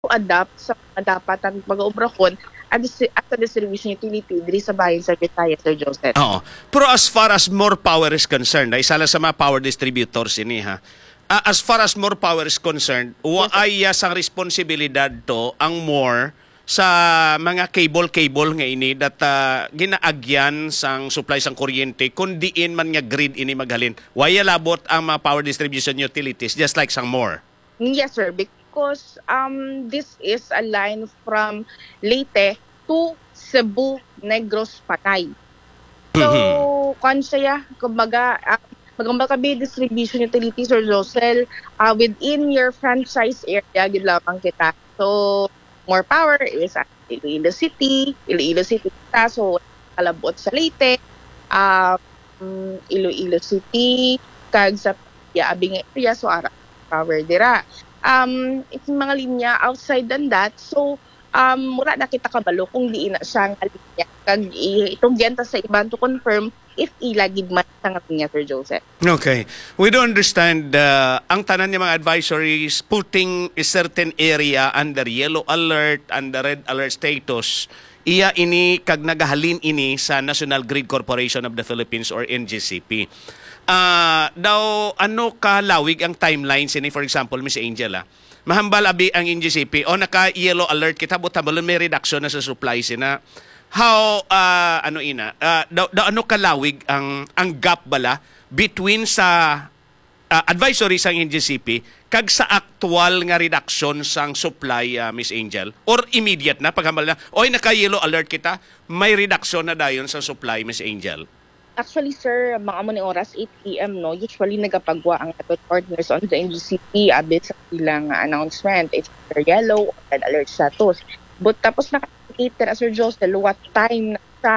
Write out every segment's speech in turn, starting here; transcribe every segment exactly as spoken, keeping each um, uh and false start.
to adapt sa mga dapat ang pag-ubrahon at distri-, at sa distribution utility diri sa bahin sa Bisaya, Sir Joseph. Oo. Pero as far as More Power is concerned, na isa lang sa mga power distributors ini, ha. Ah, as far as More Power is concerned, wa ay sang responsibilidad to ang More sa mga cable-cable nga ini that ah, ginaagyan sang supply sang kuryente kun diin man nga grid ini maghalin. Wa ya labot ang mga power distribution utilities, just like sang More. Yes, sir, because um this is a line from Leyte to Cebu, Negros, Panay. So, Mhm. Kwan siya, kumbaga, ah, magambal kami distribution utilities, Sir Josel, ah, within your franchise area, gid lamang kita. So, More Power is at Iloilo City, Iloilo City kita, so kalabot sa Leyte, um, Iloilo City, kag sa ya, abi nga area, so ara power dira. Um, it's mga linya outside than that, so um, wala na kita kabalo kung diin na siya nga linya. Kag i-, itugyan ta sa iban to confirm if ila gid man sa nga linya, Sir Joseph. Okay. We do understand uh, ang tanan nga mga advisories putting a certain area under yellow alert, under red alert status. Iya ini kag nagahalin ini sa National Grid Corporation of the Philippines or N G C P. Ah, daw ano ka lawig ang timeline sini, for example, Miss Angel, ah? Mahambal abi ang N G C P o naka yellow alert kita, but hambalon may reduction na sa supply sina. How ah, ano ina? Ah, daw, daw ano ka lawig ang ang gap bala between sa ah, advisory sang N G C P kag sa aktual nga reduction sang supply, ah, Miss Angel? Or immediate na paghambal na, oy, naka yellow alert kita, may reduction na dayon sa supply, Miss Angel? Actually, sir, mga amo ni oras eight P M, no, usually nagapagwa ang aton partners on the N G C P abit sa ilang announcement. It's either yellow or red alert status. But tapos naka-indicate na, Sir Josel, what time na sa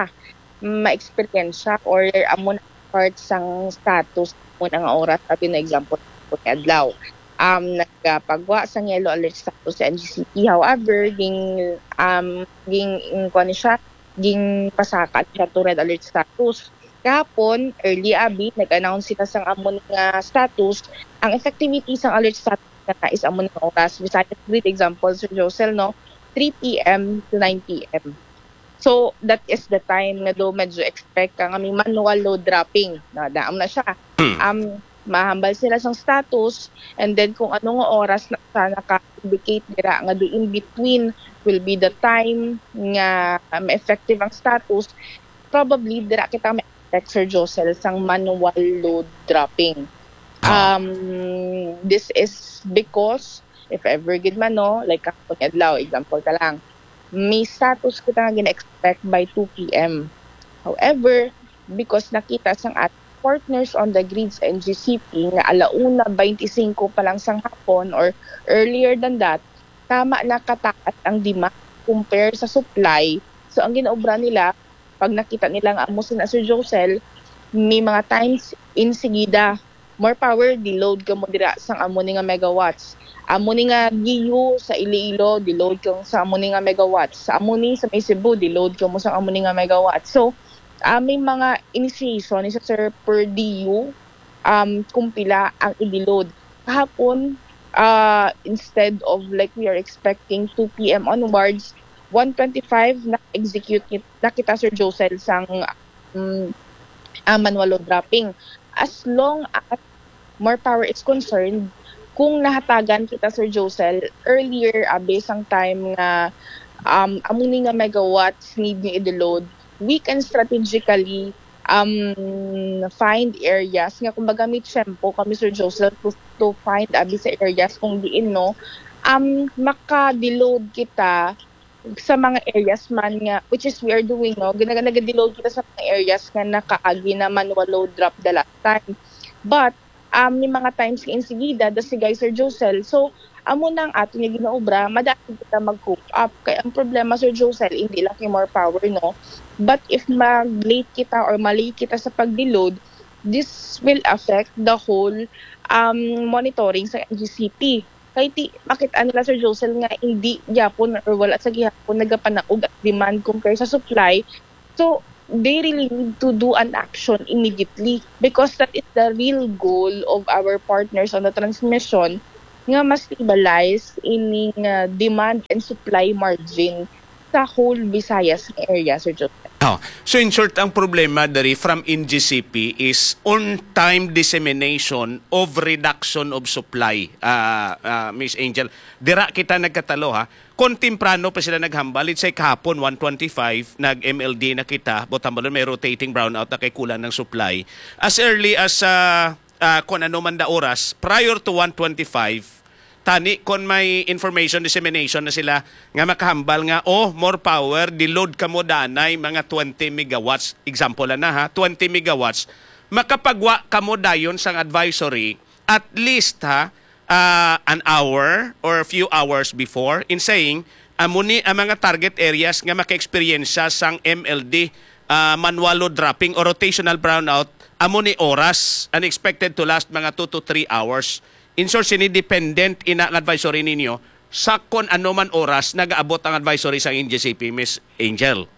ma-experience siya or amo na part sang status mo na nga oras, abi na example ko ni adlaw. Um, nagapagwa sang yellow alert status sa N G C P. However, ging um ging kuan siya, ging pasakan siya to red alert status. Kahapon, early abi, nag-announce sila sang amo nga status. Ang effectivity sang alert status na is amo nga oras. Bisaya, great example, Sir Josel, no? three P M to nine P M. So, that is the time nga do medyo expect ka nga may manual load dropping. Na, daam na siya. Hmm. Um, mahambal sila sang status, and then kung ano nga oras na siya naka-indicate dira nga do in between will be the time nga um, effective ang status, probably dira kita may expect, Sir Josel, sang manual load dropping. Ah. Um, this is because if ever gid man, no, like kahapon adlaw, example ta lang, may status kita nga gina-expect by two P M. However, because nakita sang at partners on the grids and G C P nga alauna twenty-five pa lang sang hapon or earlier than that, tama na kataas ang demand compare sa supply. So, ang ginaobra nila, pag nakita nila nga amo sina Sir Josel, may mga times, insigida, more power, deload kamo dira sang amo ni nga megawatts. Amo ni nga G U sa Iloilo, deload kamo sa amo ni nga megawatts. Sa amo ni sa may Cebu, deload kamo sa amo ni nga megawatts. So, ah, may mga initiation ni sa Sir per D U, um, kung pila ang i-deload. Kahapon, uh, instead of like we are expecting two P M onwards, one twenty-five na-execute ni-, na kita, Sir Josel, sang um, uh, manual load dropping. As long as more power is concerned, kung nahatagan kita, Sir Josel, earlier, abi sang time nga um, amo ni nga megawatts need ni i-deload, we can strategically um, find areas nga kumbaga may tiyempo kami, Sir Josel, to, to find abi sa areas kung diin, no, um, maka-deload kita sa mga areas man nga, which is we are doing, no, ginaga nagadeload kita sa mga areas nga nakaagi na manual load drop the last time. But um, may mga times nga insigida, the sigay, Sir Josel. So, amo na ang ato nga ginaobra, madali kita mag-cope up. Kay ang problema, Sir Josel, hindi lang kay more power, no? But if mag-late kita or malay kita sa pag-deload, this will affect the whole um, monitoring sa N G C P. Kay ti, makita nila, Sir Josel, nga hindi gyapon or wala sa gihapon nagapanaog ang demand compare sa supply. So, they really need to do an action immediately because that is the real goal of our partners on the transmission nga ma-stabilize ining, ah, demand and supply margin sa whole Visayas nga area, Sir Joseph. Oh, so in short, ang problema diri from N G C P is on-time dissemination of reduction of supply, ah, ah, Miss Angel. Dira kita nagkatalo, ha. Kon temprano pa sila naghambal, let's say kahapon, one twenty-five, nag-M L D na kita, but hambalon may rotating brownout na kay kulang ng supply. As early as, ah, ah, kung ano man da oras, prior to one twenty-five, tani kon may information dissemination na sila nga makahambal nga, "Oh, more power, di-load kamo danay mga twenty megawatts." Example lang na, ha, twenty megawatts. Makapagwa kamo dayon sang advisory, at least, ha, ah, an hour or a few hours before, in saying, "Amo ni ang mga target areas nga maka-eksperyensya sang M L D, ah, manual load dropping or rotational brownout, amo ni oras, and expected to last mga two to three hours." In short, sini dependent ina ang advisory ninyo sa kon ano man oras nagaabot ang advisory sang N G C P, Miss Angel.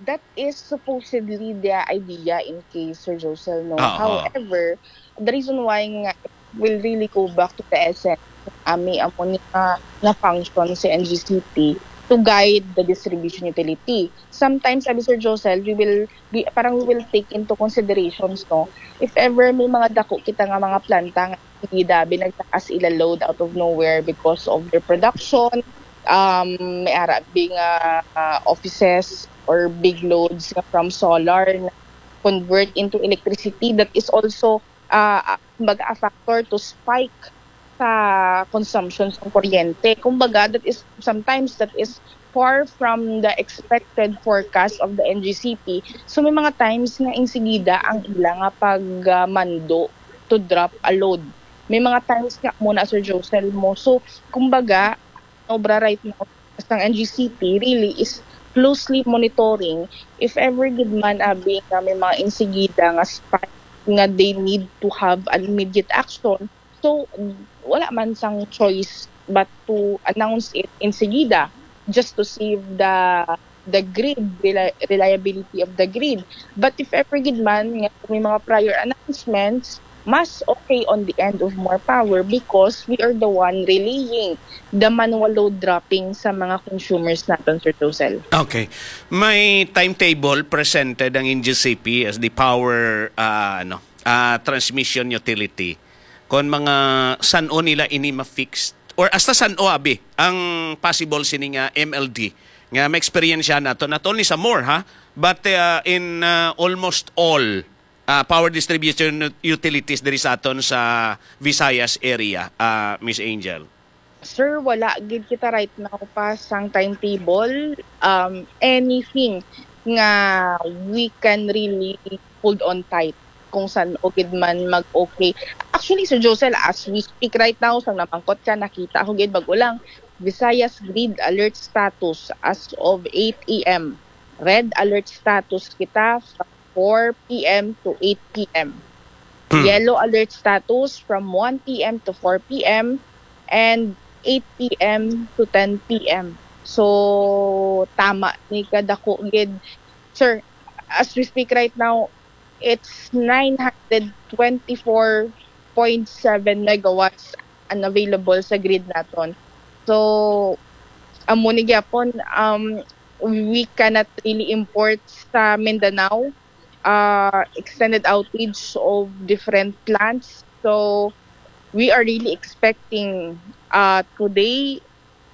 That is supposedly the idea in case, Sir Josel, no? Ah, ah. However, the reason why nga it will really go back to the essence, ami amo ni nga, nga function sa N G C P to guide the distribution utility. Sometimes, sabi Sir Josel, we will, we, parang we will take into considerations, no? If ever may mga dako kita nga mga planta nga sige dabi nagtaas ila load out of nowhere because of their production, um, may ara bi nga, ah, offices or big loads nga from solar na convert into electricity, that is also, ah, ah, kumbaga, a factor to spike sa consumption sa kuryente. Kumbaga, that is, sometimes that is far from the expected forecast of the N G C P. So, may mga times nga insigida ang ila nga pag, ah, mando to drop a load. May mga times nga muna, Sir Josel, mo. So, kumbaga, obra right now sang N G C P really is closely monitoring if ever gid man, abi, nga may mga insigida nga spike nga they need to have an immediate action. So, wala man sang choice but to announce it insigida just to save the the grid, reli-, reliability of the grid. But if ever gid man nga may mga prior announcements, mas okay on the end of more power because we are the one relaying the manual load dropping sa mga consumers naton, Sir Josel. Okay. May timetable presented ang N G C P as the power, ah, ano, ah, transmission utility. Kon mga san-o nila ini ma-fix or hasta san-o, abi, ang possible sini nga M L D nga maeksperiensya nato, not only sa more, ha, but, ah, in, ah, almost all, ah, power distribution ut-, utilities diri sa aton sa Visayas area, ah, Miss Angel. Sir, wala gid kita right now pa sang timetable, um, anything nga we can really hold on tight kung san-o gid man mag-okay. Actually, Sir Josel, as we speak right now, sang namangkot ka, nakita ko gid bag-o lang, Visayas Grid Alert Status as of eight A M. Red alert status kita from four P M to eight P M. Hmm. Yellow alert status from one P M to four P M and eight P M to ten P M. So, tama ni kadako gid. Sir, as we speak right now, it's nine hundred twenty-four point seven megawatts unavailable sa grid naton. So, amo ni gyapon, um, we cannot really import sa Mindanao, uh, extended outage of different plants. So, we are really expecting, uh, today,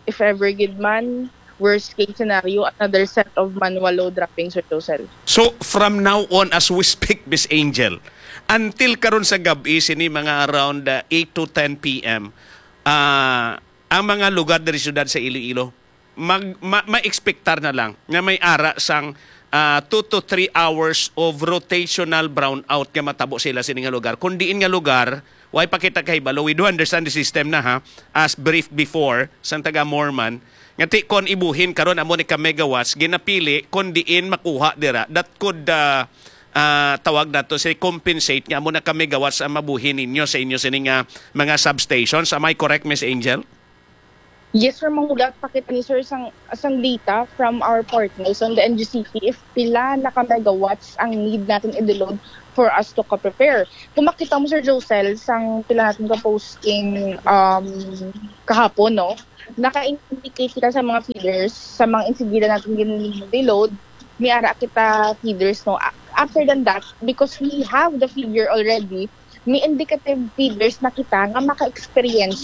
if ever gid man, worst case scenario, another set of manual load dropping, Sir Josel. So, from now on, as we speak, Miss Angel, until karon sa gab-i, sini mga around, uh, eight to ten P M, uh, ang mga lugar diri siyudad sa Iloilo, mag-, ma-, ma-expectar na lang nga may ara sang, ah, two to three hours of rotational brownout nga matabo sila sini nga lugar. Kung diin nga lugar, way pa kita kahibalo. We do understand the system na, ha, as brief before, sang taga Morman, nga ti kon ibuhin karon amo ni ka megawatts, ginapili kung diin makuha dira. That could, ah, ah, tawag nato si compensate nga amo na ka megawatts ang mabuhi ninyo sa inyo sini nga mga substations. Am I correct, Miss Angel? Yes, sir, mahulat pa kita ni sir sang, sang data from our partners on the N G C P if pila na ka megawatts ang need natin i-deload for us to ka-prepare. Kung makita mo, Sir Josel, sang pila natin ka posting um, kahapon, no? Naka-indicate kita sa mga feeders, sa mga insidida natin gin-deload, may ara kita feeders, no? A- After than that, because we have the figure already, may indicative feeders na kita nga maka-experience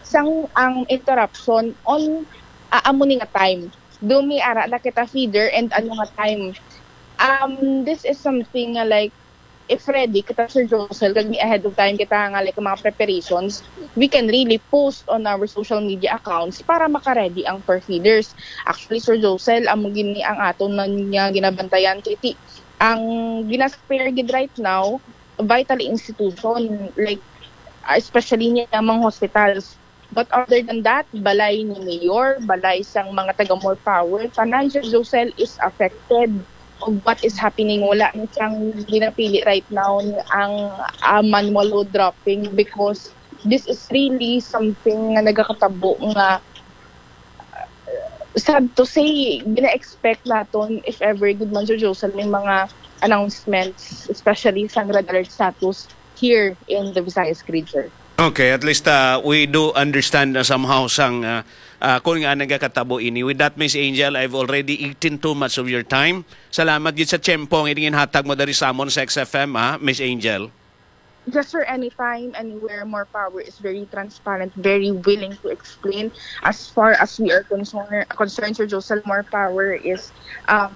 sang ang interruption on uh, amo ni nga time. Do may ara na kita feeder and ano nga time. Um, this is something nga like, if ready kita, Sir Josel, kag may ahead of time kita nga like mga preparations, we can really post on our social media accounts para maka-ready ang per feeders. Actually, Sir Josel, amo gini ang aton na nga ginabantayan kay ti ang gina-spare gid right now, vital institution, like, especially niya mga hospitals. But other than that, balay ni Mayor, balay sang mga taga More Power, tanan siya, Josel, is affected of what is happening. Wala na siyang ginapili right now ang uh, manual load dropping because this is really something nga nagakatabo nga sad to say, gina-expect naton if ever gid man, Sir Josel, may mga announcements, especially sa red alert status here in the Visayas grid, sir. Okay, at least uh, we do understand na somehow sang uh, uh, kung nga nagakatabo ini. With that, Miss Angel, I've already eaten too much of your time. Salamat gid sa tiyempo nga ining hatag mo dari sa amon sa X F M, ha, Miss Angel. Yes, sir. Anytime, anywhere, More Power is very transparent, very willing to explain. As far as we are concerned, concerned, Sir Josel, More Power is, um,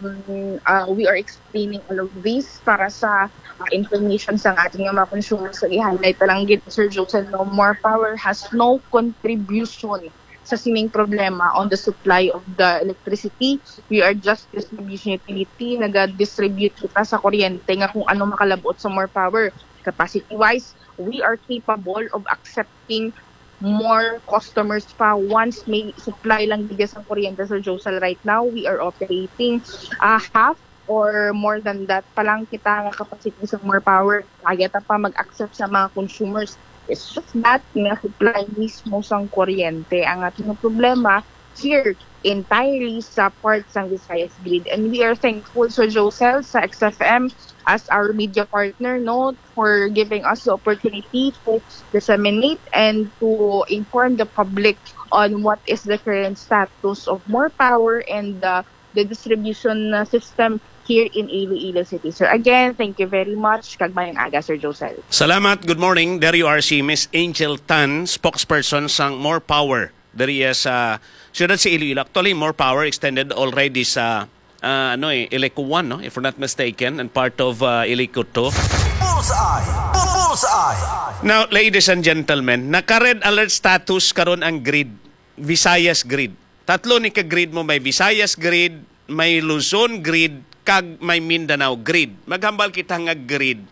uh, we are explaining all of this para sa uh, information sa ating mga consumers. Sa i-highlight na lang gid, Sir Josel, no, More Power has no contribution sa sining problema on the supply of the electricity. We are just distribution utility. Naga-distribute kita sa kuryente nga kung ano makalabot sa More Power. Capacity-wise, we are capable of accepting more customers pa once may supply lang gid sa kuryente, Sir Josel. Right now, we are operating uh, half or more than that pa lang kita nga capacity sa More Power. Kaya ta pa mag-accept sa mga consumers. It's just that nga supply mismo sang kuryente ang ating problema here entirely sa part sang Visayas Grid. And we are thankful, Sir Josel, sa X F M as our media partner, no, for giving us the opportunity to disseminate and to inform the public on what is the current status of More Power and the, the distribution uh, system here in Iloilo City. Sir, again, thank you very much. Kag mayong aga, Sir Josel. Salamat. Good morning. There you are, si Miss Angel Tan, spokesperson sang More Power diri sa siyudad sa Iloilo. Actually, More Power extended already sa ah, ano eh, Iloilo one, no? If we're not mistaken, and part of uh, Iloilo two. Bullseye! Bullseye! Now, ladies and gentlemen, naka-red alert status karon ang grid, Visayas grid. Tatlo ni ka grid mo, may Visayas grid, may Luzon grid, kag may Mindanao grid. Maghambal kita nga grid.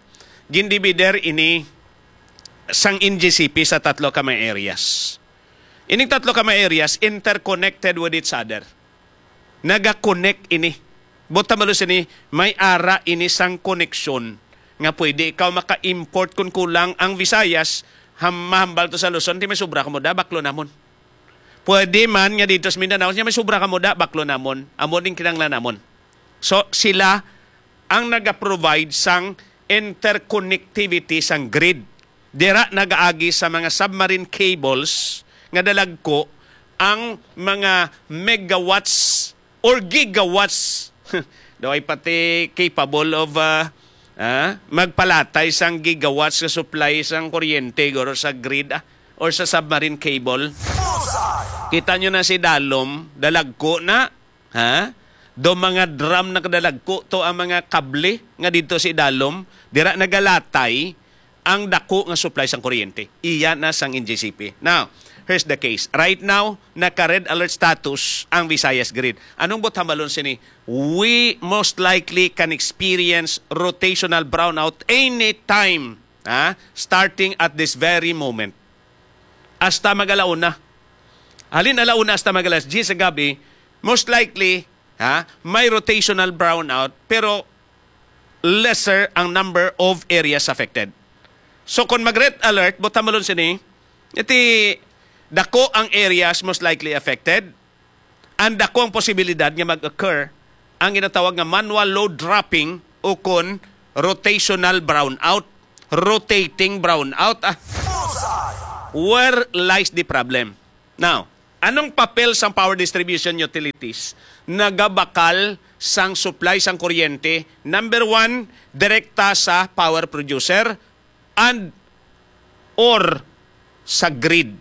Gindivider ini sang N G C P sa tatlo ka mga areas. Ining tatlo ka mga areas interconnected with each other. Naga-connect ini. Buot hambalon sini, may ara ini sang koneksyon nga pwede ikaw maka-import kun kulang ang Visayas, ham-, mahambal to sa Luzon, ti may sobra kamo da, baklo namon. Pwede man nga dito sa Mindanao, nya may sobra kamo da, baklo namon. Amo ning kinahanglan namon. So, sila ang naga-provide sang interconnectivity sang grid. Dira nagaagi sa mga submarine cables nga dalagko ang mga megawatts or gigawatts. Daw ay pati capable of ah, ah, magpalatay sang gigawatts nga supply sang kuryente guro sa grid ah, or sa submarine cable. Kita nyo na si Dalom, dalagko na, ha? Do mga drum na kadalagko to ang mga kable nga didto sa idalom, dira nagalatay ang dako nga supply sang kuryente. Iya na sang N G C P. Now, here's the case. Right now, naka-red alert status ang Visayas Grid. Anong buot hambalon sini? We most likely can experience rotational brownout anytime, ha? Starting at this very moment. Hasta mag-alauna. Halin alauna hasta mag-alas diyes sa gabi, most likely, ha, may rotational brownout, pero lesser ang number of areas affected. So kung mag-red alert, buot hambalon sini, iti dako ang areas most likely affected, and dako ang posibilidad nga mag-occur ang ginatawag nga manual load dropping o kon rotational brownout, rotating brownout. Ah. Where lies the problem? Now, anong papel sang power distribution utilities? Nagabakal sang supply sang kuryente, number one, direkta sa power producer and or sa grid,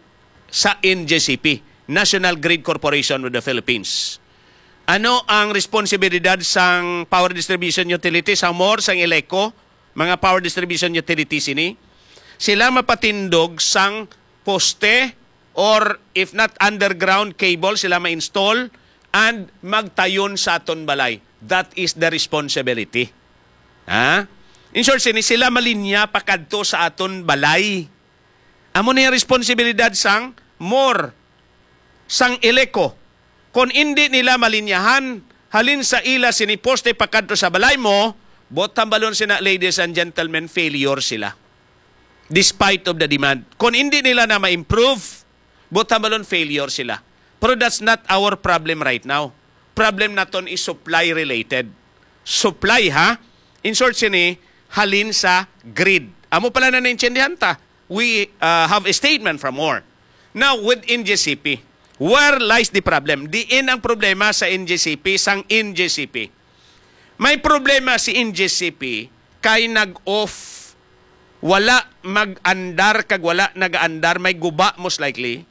sa N G C P, National Grid Corporation of the Philippines. Ano ang responsibilidad sang power distribution utility, sang MOR, sang ELECO, mga power distribution utilities ini? Sila mapatindog sang poste, or if not, underground cable sila ma-install and magtayon sa aton balay. That is the responsibility. Ha? In short, sini sila malinya pakadto sa aton balay. Amo ni ang responsibilidad sang MOR, sang ELECO. Kon indi nila malinyahan, halin sa ila sini poste pakadto sa balay mo, buot hambalon sina, ladies and gentlemen, failure sila. Despite of the demand. Kon indi nila na ma-improve, buot hambalon failure sila. Pero that's not our problem right now. Problem naton is supply related. Supply, ha? In short, sini, halin sa grid. Amo pala na naintindihan ta. We uh, have a statement from MOR. Now, with N G C P, where lies the problem? Diin ang problema sa N G C P, sang N G C P. May problema si N G C P kay nag-off, wala mag-andar kag wala nag-andar, may guba most likely,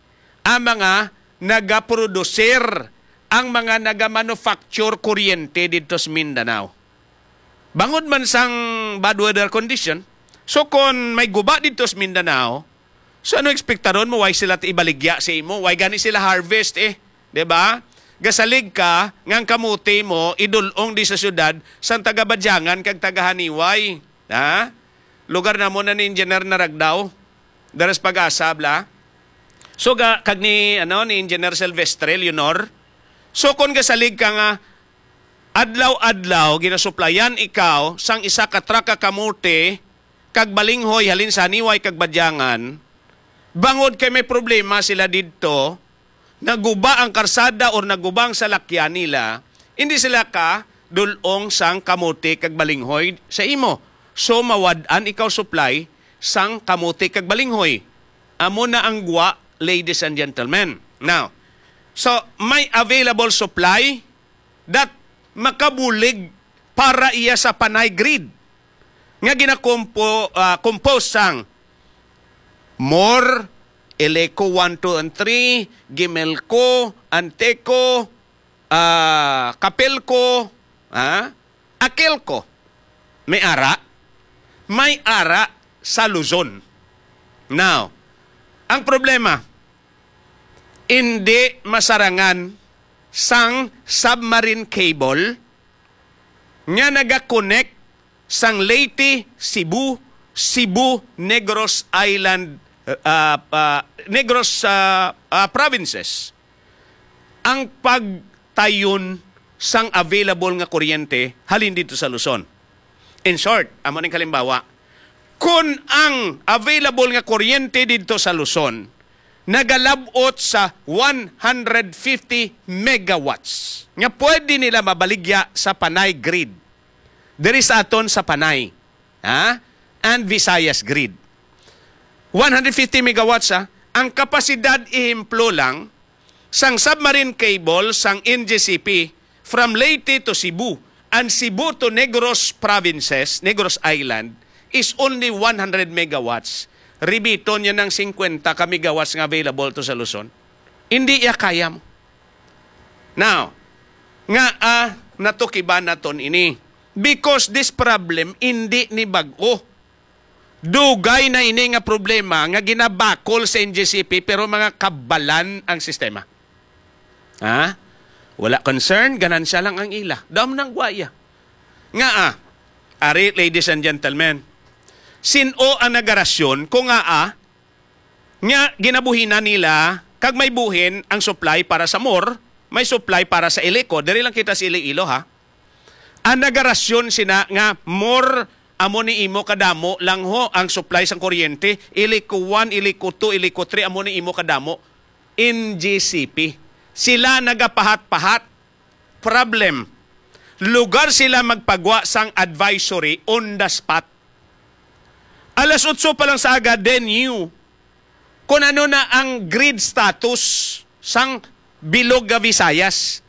ang mga nagaproducer, ang mga nagamanufacture kuryente didto sa Mindanao. Bangod man sang bad weather condition, so kon may guba didto sa Mindanao, so ano ekspektaron mo, why sila ibaligya sa imo? Why gani sila harvest eh? Di ba? Gasalig ka nga ang kamote mo idul-ong di sa syudad sang taga Badyangan kag taga Janiuay. Ha? Lugar namo na ni Engineer Naragdaw. Daras Pag-asa, bla. So, ga, kag ni, ano, ni Engineer Silvestre Leonor. So, kon gasalig ka nga adlaw-adlaw ginasuplayan ikaw sang isa ka truck ka kamote kag balinghoy halin sa Janiuay kag Badyangan, bangod kay may problema sila didto, naguba ang karsada or naguba ang salakyan nila, hindi sila ka dul-ong sang kamote kag balinghoy sa imo. So, mawad-an ikaw supply sang kamote kag balinghoy. Amo na ang gwa, ladies and gentlemen. Now, so, may available supply that makabulig para iya sa Panay grid nga ginakompo-, ah, compose sang MOR, ELECO one, two, and three, GIMELCO, ANTECO, ah, CAPELCO, ah, AKELCO. May ara, may ara sa Luzon. Now, ang problema, hindi masarangan sang submarine cable nga nagakonek sang Leyte, Cebu, Cebu, Negros Island, uh, uh, Negros uh, uh, provinces ang pagtayon sang available nga kuryente halin dito sa Luzon. In short, amo ning kalimbawa, kun ang available nga kuryente dito sa Luzon nagalabot sa one hundred fifty megawatts nga pwede nila mabaligya sa Panay grid, diri sa aton sa Panay, ha? And Visayas grid. One hundred fifty megawatts, ha? Ang kapasidad, ehemplo lang, sang submarine cable sang N G C P from Leyte to Cebu and Cebu to Negros provinces, Negros Island, is only one hundred megawatts. Ribiton niya ng fifty ka megawatts nga available to sa Luzon. Hindi iya kaya mo. Now, nga ah, natukiban naton ini. Because this problem, hindi ni bag-o. Dugay na ini nga problema nga ginabakol sa N G C P, pero mga kabalan ang sistema. Ha? Wala concern, ganansya lang ang ila. Dam nang gwaya. Nga ah, ari, ladies and gentlemen, sin-o ang nagarasyon ko nga ah, nga ginabuhinan nila, kag may buhin ang supply para sa MOR, may supply para sa ELECO. Diri lang kita sa Iloilo, ha? Ang nagarasyon sina nga MOR, amo ni imo kadamo lang ho ang supply sang kuryente, ELECO one, ELECO two, ELECO three, amo ni imo kadamo. N G C P. Sila nagapahat-pahat. Problem. Lugar sila magpagwa sang advisory on the spot. Alas otso pa lang sa aga, then you, kung ano na ang grid status sang bilog nga Visayas.